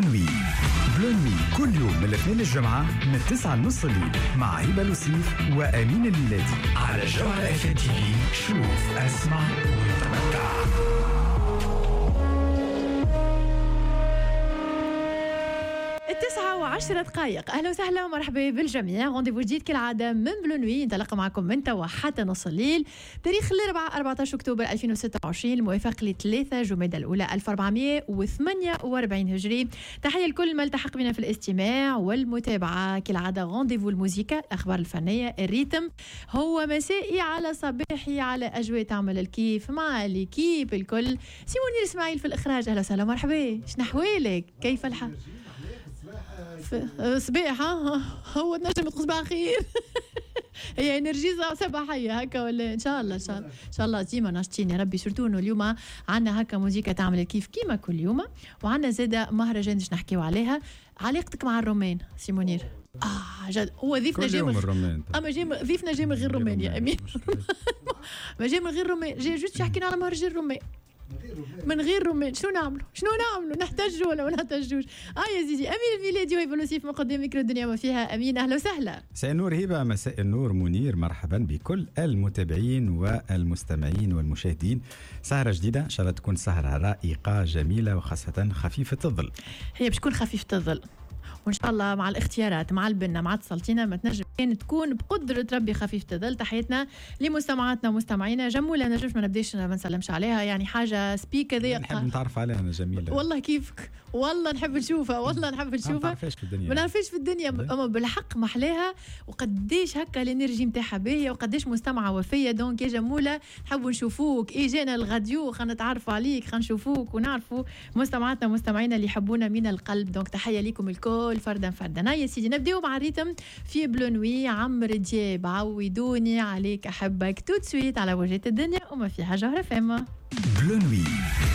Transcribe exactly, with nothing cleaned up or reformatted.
Bleu Nuit. Bleu Nuit كل يوم من الاثنين للجمعة من تسعة لنص الليل مع هبة لوسيف وأمين الميلادي على جوهرة اف ام تي في. شوف، اسمع وتمتع. التسعة وعشرة دقائق. أهلا وسهلا ومرحبا بالجميع. rendez-vous جديد كالعادة من Bleu Nuit، نتلاقى معكم من توا حتى نص الليل، تاريخ الأربعاء أربعة عشر أكتوبر ألفين وستة وعشرين الموافق لثلاثة جمادى الأولى ألف وأربعمائة وثمانية وأربعين هجري. تحية لكل ما التحق بنا في الاستماع والمتابعة. كالعادة rendez-vous الموسيقى، الأخبار الفنية، ال rythme هو مسائي على صباحي على أجواء تعمل الكيف مع l'équipe الكل. سي منير إسماعيل في الإخراج، أهلا وسهلا مرحبا. شنو أحوالك؟ كيف الحال؟ صباح هو تنجم تقول صباح خير. هي énergie صباحية هكا ولا؟ ان شاء الله ان شاء الله ان شاء الله ديما ناشطين يا ربي. surtout انه اليوم عندنا هكا موزيكا تعمل كيف كيما كل يوم، وعندنا زاده مهرجان باش نحكيو عليها. علاقتك مع الرومان سي منير؟ اه جد هو ضيفنا جاي من الرومان، اما جاي ضيفنا جاي من غير رومان يا امين. ما جاي من غير رومان، جاي juste يحكينا على مهرجان الرومان من غير رومان. شنو نعملوا؟ شنو نعملوا؟ نحتجوا ولا ما نحتجوش؟ اه يا زيدي. امين الميلادي وهبه لوسيف من قدام ميكرو الدنيا ما فيها. امين اهلا وسهلا. مساء النور هبه، مساء النور منير، مرحبا بكل المتابعين والمستمعين والمشاهدين. سهره جديدة ان شاء الله تكون سهره رائقه جميلة وخاصة خفيفة الظل. هي باش تكون خفيفة الظل وان شاء الله مع الاختيارات مع البنه مع السلطينه ما تنجم كان تكون بقدره ربي خفيفة الظل. تحياتنا لمستمعاتنا ومستمعينا. جموله نجمش ما نبداش ما نسلمش عليها، يعني حاجة سبيك هذيا نحب نتعرف عليها انا جميلة والله. كيفك؟ والله نحب نشوفها، والله نحب نشوفها. ما نعرفهاش في الدنيا، ما نعرفهاش في الدنيا، اما بالحق محلاها وقديش هكا ال énergie نتاعها باهيه وقديش مستمعه وفيه. donc يا جموله نحبوا نشوفوك، اجانا الغاديو خلينا نتعرفوا عليك، خلينا نشوفوك ونعرفوا مستمعاتنا ومستمعينا اللي يحبونا من القلب. donc تحية لكم الكل فردا فردا. يا سيدي نبداو مع ال rythme في Bleu Nuit. عمرو دياب عودوني عليك احبك tout de suite على وجهة الدنيا وما فيها جوهرة فما. Bleu Nuit.